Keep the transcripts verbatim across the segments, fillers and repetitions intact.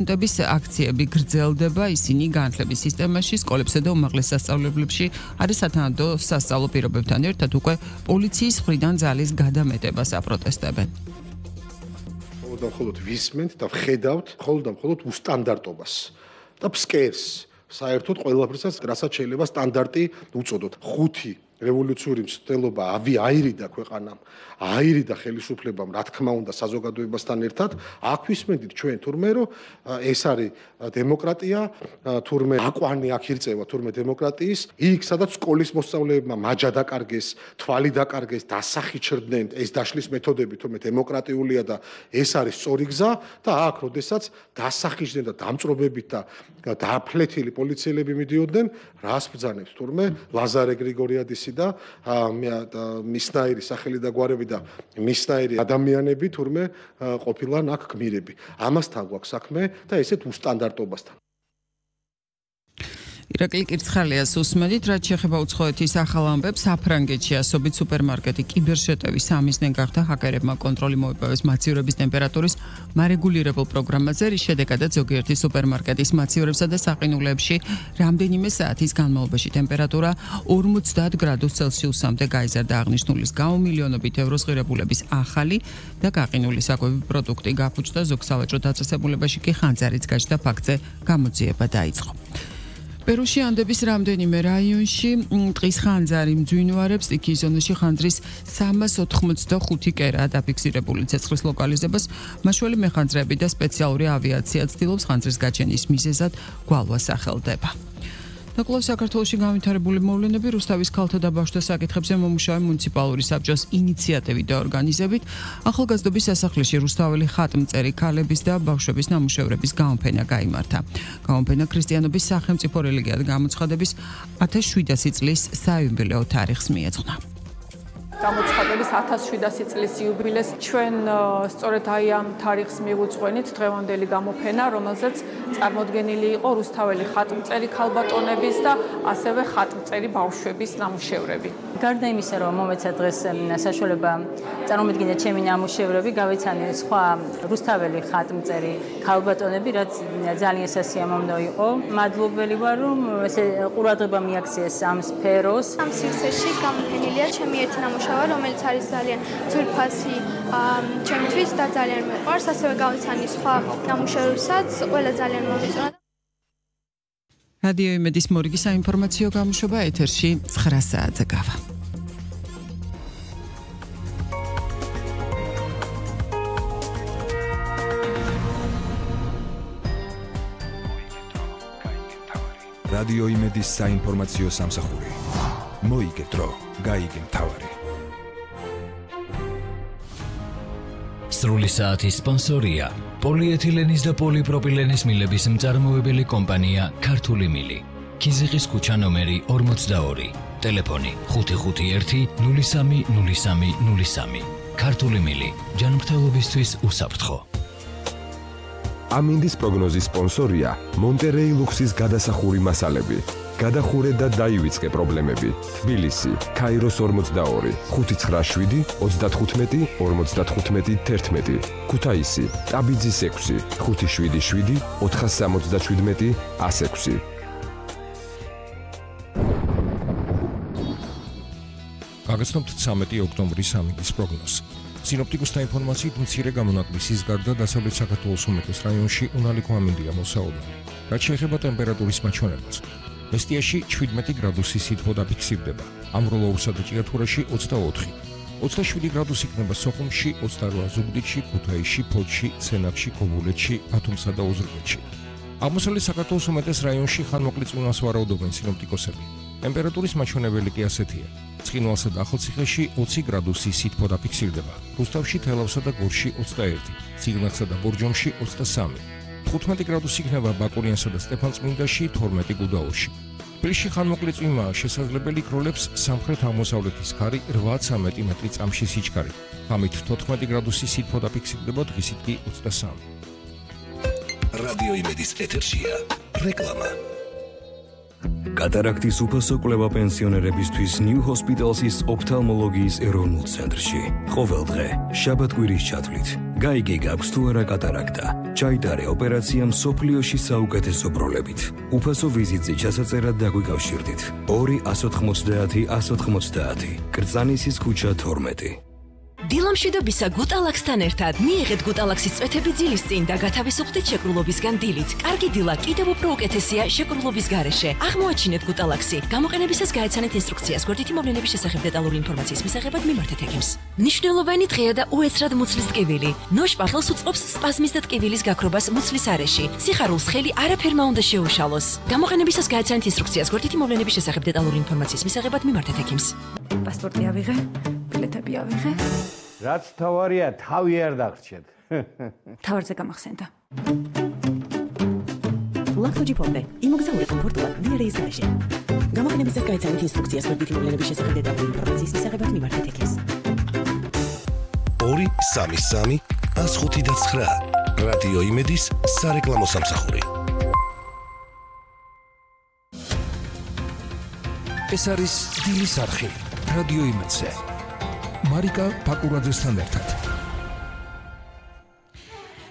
სტუდენტების აქციები გრძელდება, ისინი განათლების სისტემაში, სკოლებსა და უმაღლეს სასწავლებლებში არის სათანადო სასწავლო პირობებთან ერთად უკვე პოლიციის მხრიდან ძალის გადამეტებას აპროტესტებენ. და მხოლოდ ვისმენთ და ვხედავთ მხოლოდ და მხოლოდ უსტანდარტობას და ფსკერს საერთოდ ყველაფერსაც რასაც შეიძლება სტანდარტი უწოდოთ. ხუთი რევოლუციური მცდელობა ავი აირიდა ქვეყანამ, აირიდა ხელისუფლებამ, რა თქმა უნდა საზოგადოებასთან ერთად, აქ ვისმენთ ჩვენ თურმე რომ ეს არის დემოკრატია, თურმე აკვანი აქ ირწევა თურმე დემოკრატიის, იქ სადაც სკოლის მოსწავლეებმა მაჯა დაკარგეს, თვალი დაკარგეს, დასახიჩრდნენ, ეს დაშლის მეთოდები თურმე დემოკრატიულია და ეს არის სწორი გზა და აქ როდესაც დასახიჩრდნენ და დამწრობებით და დააფლეთილი პოლიციელები მიდიოდნენ, რას ბრძანებს თურმე ლაზარე გრიგორიადისი და მისნაირი სახელი და გვარები და მისნაირი ადამიანები თურმე ყოფილან აქ გმირები. ამასთან გვაქვს საქმე და ესეთ უსტანდარტობასთან. ირაკლი კირცხალიას უსმენთ, რაც შეეხება უცხოეთის ახალ ამბებს, საფრანგეთში ასობით სუპერმარკეტი კიბერშეტევის სამიზნე გახდა, ჰაკერებმა კონტროლი მოიპოვეს მაცივრების ტემპერატურის მარეგულირებულ პროგრამაზე, რის შედეგადაც ზოგიერთი სუპერმარკეტის მაცივრებსა და საყინულებში რამდენიმე საათის განმავლობაში ტემპერატურა ორმოცდაათ გრადუს ცელსიუსამდე გაიზარდა. აღნიშნულის გამო მილიონობით ევროს ღირებულების ახალი და გაყინული საკვები პროდუქტი გაფუჭდა, ზოგ სავაჭრო დაწესებულებაში კი ხანძარიც გაჩნდა, ფაქტზე გამოძიება დაიწყო. პერუში ანდების რამდენიმე რაიონში ტყის ხანძარი მძვინვარებს, იქ ზონაში ხანძრის სამას ოთხმოცდახუთი კერაა დაფიქსირებული. ცეცხლის ლოკალიზებას მაშველი მეხანძრები და სპეციალური ავიაცია ცდილობს, ხანძრის გაჩენის მიზეზად გვალვა სახელდება. და კვლავ საქართველოში განვითარებული მოვლენები, რუსთავის ქალთა და ბავშვთა საკითხებზე მომუშავე მუნიციპალური საბჭოს ინიციატივით და ორგანიზებით ახალგაზრდობის სასახლეში რუსთაველი ხატმწერი ქალების და ბავშვების ნამუშევრების გამოფენა გაიმართა. გამოფენა ქრისტიანობის სახელმწიფო რელიგიად გამოცხადების ათას შვიდასი წლის საიუბილეო თარიღს მიეძღვნა. გამოცხადების ათას შვიდასი წლის იუბილეს ჩვენ სწორედ აი ამ თარიღს მივუძღვენით დღევანდელი გამოფენა, რომელზეც წარმოდგენილი იყო რუსთაველი ხატმწერი ქალბატონების და ასევე ხატმწერი ბავშვების ნამუშევრები. გარდა იმისა, რომ მომეცა დღეს საშუალება წარმომედგინე ჩემი ნამუშევრები, გავეცანი სხვა რუსთაველი ხატმწერი ქალბატონები, რაც ძალიან სასიამოვნო იყო. მადლობელი ვარ, რომ ესე ყურადღება მიაქციეს ამ სფეროს. ამ სივრცეში გამოფენილია ჩემი ერთი ნამუშევრი, რომელიც არის ძალიან ძვირფასი ჩემთვის და ძალიან მეყვარს, ასევე გავეცანი სხვა ნამუშევრებსაც, ყველა ძალიან მომეწონა. რადიო იმედის მორიგი საინფორმაციო გამოშვება ეთერში ცხრა საათზე გავა. რადიო იმედის საინფორმაციო სამსახური. მოიგეთრო, გაიგე მთავარი. სრული საათის სპონსორია პოლიეთილენის და პოლიპროპილენის მილების მწარმოებელი კომპანია ქართული მილი. ქიზიყის ქუჩა ნომერი ორმოცდაორი. ტელეფონი ხუთი ხუთი ერთი ნული სამი ნული სამი ნული სამი. ქართული მილი ჯანმრთელობისთვის უსაფრთხო. ამინდის პროგნოზის სპონსორია მონტერეი ლუქსის გადასახური მასალები. გადახურე და დაივიწყე პრობლემები. თბილისი, ქაიროს ორმოცდაორი, ხუთი ცხრა შვიდი ოცდათხუთმეტი ორმოცდათხუთმეტი თერთმეტი. ქუთაისი, ტაბიძის ექვსი, ხუთი შვიდი შვიდი ოთხასამოცდაშვიდმეტი ასექვსი. გაგაცნობთ ცამეტი ოქტომბრის ამინდის პროგნოზს. სინოპტიკოსთა ინფორმაციით მცირე გამონაკლისის გარდა დასავლეთ საქართველოს უმეტეს რაიონში უნალიკო ამინდია მოსაუბრებელი. რაც შეეხება ტემპერატურის მაჩვენებელს, მესტიაში შვიდმეტი გრადუსი სითბო დაფიქსირდება, ამროლოურსა და ჭიათურაში ოცდაოთხი, ოცდაშვიდი გრადუსი იქნება სოხუმში, ოცდარვა ზუგდიდში, ქუთაისში, ფოთში, სენაკში, ქობულეთში, ბათუმსა და ოზურგეთში. აღმოსავლეთ საქართველოს უმეტეს რაიონში ხანმოკლე წვიმას ვარაუდობენ სინოპტიკოსები. ტემპერატურის მაჩვენებელი კი ასეთია. ცხინვალსა და ახალციხეში ოცი გრადუსი სითბო დაფიქსირდება, რუსთავში, თელავსა და გორში ოცდაერთი, ციგნახსა და ბორჯომში ოცდასამი. თხუთმეტი გრადუსი იქნება ბაკურიანსა და სტეფანწმინდაში, თორმეტი გუდაურში. თბილისში ხანმოკლე წვიმაა, შესაძლებელი იქროლებს სამხრეთ-აღმოსავლეთის ქარი რვაცამეტი მეტრი წამში სიჩქარე. ღამით თოთხმეტი გრადუსი სითბო დაფიქსირდება, დღისით კი ოცდასამი. რადიო იმედის ეთერშია რეკლამა. კატარაქტის უფასო კვლევა პენსიონერებისთვის New Hospital's ოფთალმოლოგიის ეროვნულ ცენტრში. ყოველ დღე, შაბათ-კვირის ჩათვლით, გაიგე გაქვს თუ არა კატარაქტა. ჩაიტარე ოპერაცია მსოფლიოში საუკეთესო ბროლებით. უფასო ვიზიტზე ჩასაწერად დაგვიკავშირდით. ორი ათას ოთხმოცდაათი ათას ოთხმოცდაათი. კრწანისის ქუჩა თორმეტი. დილამშვიდობისა გუტალაქსთან ერთად მიიღეთ გუტალაქსის წვეთები ძილის წინ და გათავისუფლდით შეკრულობისგან დილით. კარგი დილა კიდევ უფრო უკეთესია შეკრულობის გარეშე. აღმოაჩინეთ გუტალაქსი. გამოყენებისას გაეცანეთ ინსტრუქციას. გვერდითი მოვლენების შესახებ დეტალური ინფორმაციის მისაღებად მიმართეთ ექიმს. მნიშვნელოვანი დღეა და უეცრად მუცლის ტკივილი. ნოშ პარხელს უწყობს სპაზმის და ტკივილის გაქრობას მუცლის არეში. სიხარულს ხელი არაფერმა უნდა შეუშალოს. გამოყენებისას გაეცანეთ ინსტრუქციას. გვერდითი მოვლენების შესახებ დეტალური ინფორმაციის მისაღებად მიმართეთ ექიმს. პასპორტი ავიღე, ბილეთები ავიღე. რაც თავარია, თავი არ დაგრჩეთ. თავარზე გამახსენდა. ლაქტოჯი ფონდე, იმოგზაურე კომფორტულად დიარეის გარეშე. გამოყენებისას გაეცანით ინსტრუქციას გვერდითი მოვლენების შესახებ დეტალური ინფორმაციის მისაღებად მიმართეთ ექიმს. ორი სამი სამი ათას ხუთი და ცხრა. რადიო იმედის სარეკლამო სამსახური. ეს არის დილის არხი. რადიო იმედზე. მარიკა ბაკურაძესთან ერთად.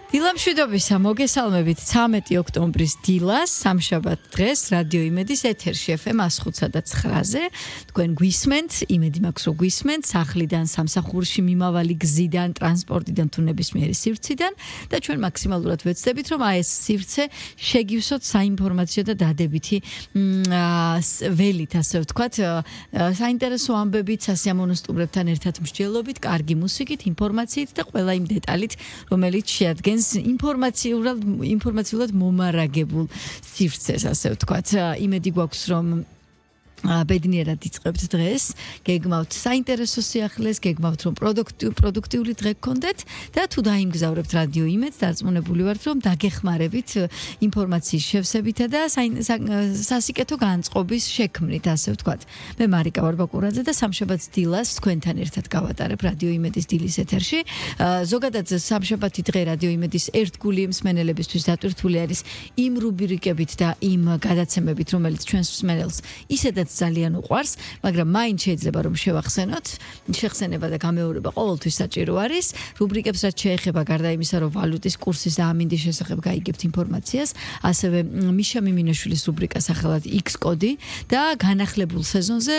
დილამშვიდობისა, მოგესალმებით ცამეტი ოქტომბრის დილას, სამშაბათ დღეს რადიო იმედის ეთერში ეფ ემ ათას ხუთსა და ცხრაზე. თქვენ გვისმენთ, იმედი მაქვს რომ გვისმენთ სახლიდან, სამსახურში მიმავალი გზიდან, ტრანსპორტიდან თუ ნებისმიერი სივრციდან და ჩვენ მაქსიმალურად ვეცდებით რომ აი ეს სივრცე შეგივსოთ საინფორმაციო და დადებითი ველით, ასე ვთქვათ, საინტერესო ამბებით, სასიამოვნო სტუმრებთან ერთად მსჯელობით, კარგი მუსიკით, ინფორმაციით და ყველა იმ დეტალით, რომელიც შეადგენს ინფორმაციულად ინფორმაციულად მომარაგებულ სივრცეს, ასე ვთქვათ. იმედი გვაქვს რომ ბედნიერად იწყებთ დღეს, გეგმავთ საინტერესო სიახლეს, გეგმავთ რომ პროდუქტიული დღე გქონდეთ და თუ დაიმგზავრებთ რადიო იმედს, დარწმუნებული ვართ რომ დაგეხმარებით ინფორმაციის შევსებითა და სასიკეთო განწყობის შექმნით, ასე ვთქვათ. მე მარიკა ვარ ბაკურაძე და სამშაბათს დილას თქვენთან ერთად გავატარებ რადიო იმედის დილის ეთერში. ზოგადად სამშაბათი დღე რადიო იმედის ერთგული მსმენელებისთვის დატვირთული არის იმ რუბრიკებით და იმ გადაცემებით, რომელიც ჩვენს მსმენელს ისედაც ძალიან უყვარს, მაგრამ მაინც შეიძლება რომ შევახსენოთ. შეხსენება და გამეორება ყოველთვის საჭირო არის. რუბრიკებს რაც შეეხება გარდა იმისა, რომ ვალუტის კურსის და ამინდის შესახებ გაიგებთ ინფორმაციას, ასევე მიშა მიმინაშვილის რუბრიკა სახელად X კოდი და განახლებულ სეზონზე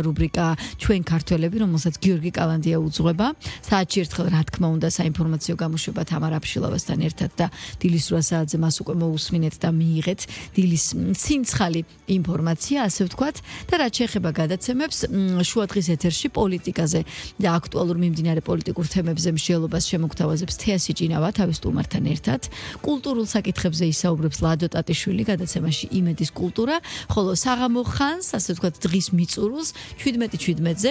რუბრიკა ჩვენ ქართველები, რომელსაც გიორგი კალანდია უძღვება. საათში ერთხელ რა თქმა უნდა საინფორმაციო გამოშვება თამარ აფშილავასთან ერთად და დილის რვა საათზე მას უკვე მოусმინეთ და მიიღეთ დილის ცინცხალი ინფორმაცია, ასე ვთქვათ. და რაც შეეხება გადაცემებს, შუადღის ეთერში პოლიტიკაზე და აქტუალურ მიმდინარე პოლიტიკურ თემებზე მსჯელობას შემოგთავაზებს თეასი ჭინავა თავის სტუმართან ერთად. კულტურულ საკითხებზე ისაუბრებს ლადო ტატიშვილი გადაცემაში იმედის კულტურა, ხოლო საღამო ხანს, ასე ვთქვათ, დღის მიწურულს შვიდმეტი შვიდმეტზე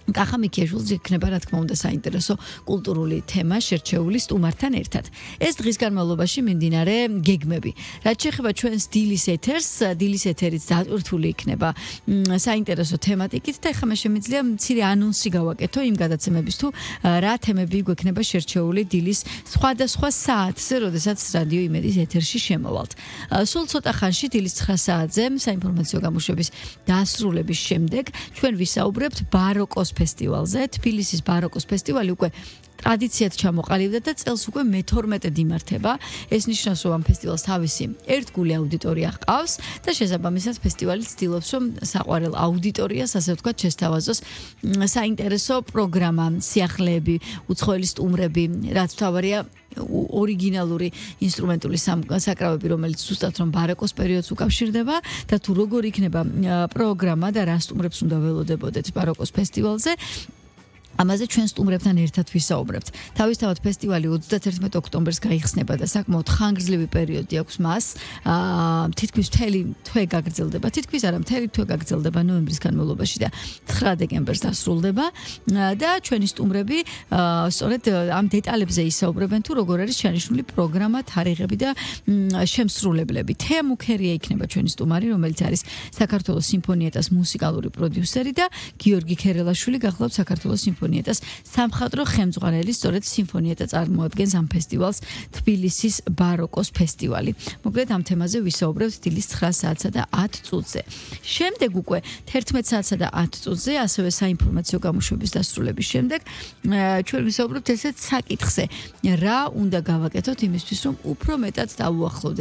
კახა მიქიაშვილს იქნება რა თქმა უნდა საინტერესო კულტურული თემა შერჩეული სტუმართან ერთად. ეს დღის განმავლობაში მიმდინარე გეგმები. რაც შეეხება ჩვენს დილის ეთერს, დილის ეთერიც დატვირთული იქნება საინტერესო თემატიკით და ეხლა მე შემიძლია მცირე ანონსი გავაკეთო იმ გადაცემების თუ რა თემები გვექნება შერჩეული დილის სხვადასხვა საათზე, როდესაც რადიო იმედის ეთერში შემოვალთ. სულ ცოტა ხანში დილის ცხრა საათზე საინფორმაციო გამოშვების დასრულების შემდეგ ჩვენ ვისაუბრებთ ბაროკოს ფესტივალზე. თბილისის ბაროკოს ფესტივალი უკვე ტრადიციად ჩამოყალიბდა და წელს უკვე მეთორმეტედ იმართება. ეს ნიშნავს, რომ ამ ფესტივალს თავისი ერთგული აუდიტორია ჰყავს და შესაბამისად ფესტივალი ცდილობს, რომ საყვარელ აუდიტორიას, ასე ვთქვათ, შესთავაზოს საინტერესო პროგრამა, სიახლეები, უცხოელი სტუმრები, რაც თავარია ორიგინალური ინსტრუმენტული საკრავები, რომელიც ზუსტად რომ ბაროკოს პერიოდს უკავშირდება და თუ როგორ იქნება პროგრამა და რა სტუმრებს უნდა ველოდებოდეთ ბაროკოს ფესტივალზე. ამაზე ჩვენ სტუმრებთან ერთად ვისაუბრებთ. თავისთავად ფესტივალი ოცდათერთმეტი ოქტომბერს გაიხსნება და საკმაოდ ხანგრძლივი პერიოდი აქვს მას. აა თითქმის მთელი თვე გაგრძელდება. თითქმის არა, მთელი თვე გაგრძელდება ნოემბრის განმავლობაში და ცხრა დეკემბერს დასრულდება და ჩვენი სტუმრები სწორედ ამ დეტალებზე ისაუბრებენ თუ როგორ არის შენიშნული პროგრამა, თარიღები და შემსრულებლები. თეა მუქერია იქნება ჩვენი სტუმარი, რომელიც არის საქართველოს სიმფონიეტას მუსიკალური პროდიუსერი და გიორგი ქერელაშვილი გახლავთ საქართველოს სიმფონიეტას სიმფონიეტას სამხატვრო ხელმძღვანელი სწორედ სიმფონიეტა წარმოადგენს ამ ფესტივალს თბილისის ბაროკოს ფესტივალი. მოკლედ ამ თემაზე ვისაუბრებთ დილის ცხრა საათსა და ათ წუთზე. შემდეგ უკვე თერთმეტ საათსა და ათ წუთზე ასევე საინფორმაციო გამოშვების დასრულების შემდეგ ჩვენ ვისაუბრებთ ესეთ საკითხზე, რა უნდა გავაკეთოთ იმისთვის, რომ უფრო მეტად დავუახლოვდეთ